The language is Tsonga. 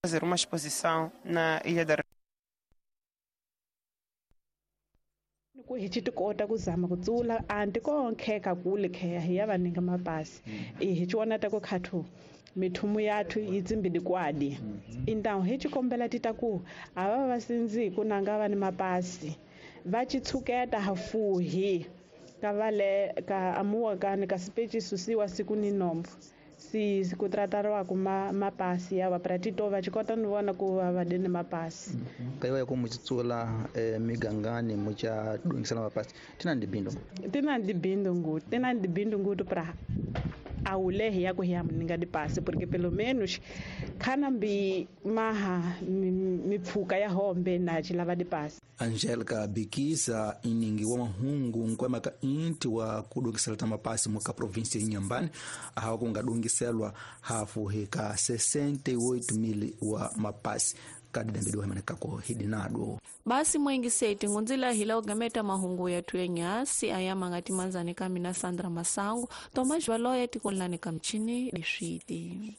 Fazer uma exposição na Ilha da Ku hi ci tikota ku zama ku tsula anti ko nkheka kule kheya hi ya va ninga mapasi i hi ci ta ku khathu mithumu yathu yi tsimbidi kwadi intawu hi ci kombela ti ta ku a va va sindzi ku nanga va ni mapasi va ci tshuketa hafuhi ka vale ka amuwa kani ka sipeci susiwa siku ni nombo si ku tratariwaku mapasi ya va pratito va ci kota ni vona ku va va dini mapasi. Kaiwa ya ku muchitsula migangani mucha dungisela mapasi tina ndibindu tina ndibindu ngutu tina ndibindu ngutu pra awulehi ya ku hi ya muninga dipasi porque pelo menos khana mbi maha mipfuka ya hombe na chilava dipasi. Angelica Bikisa iningi wa mahungu nkwema ka inti wa kudungisela ta mapasi muka provinsi ya Inhambane ahawa kungadungiselwa hafu hika 68,000 wa mapasi kadidambidiwa himanekako hidinado. Basi mwengi seti ngunzila hila ugameta mahungu yathu ya nyasi ayama ngati manzani kamina Sandra Masangu Tomas Valoya tikolani kamchini diswiti.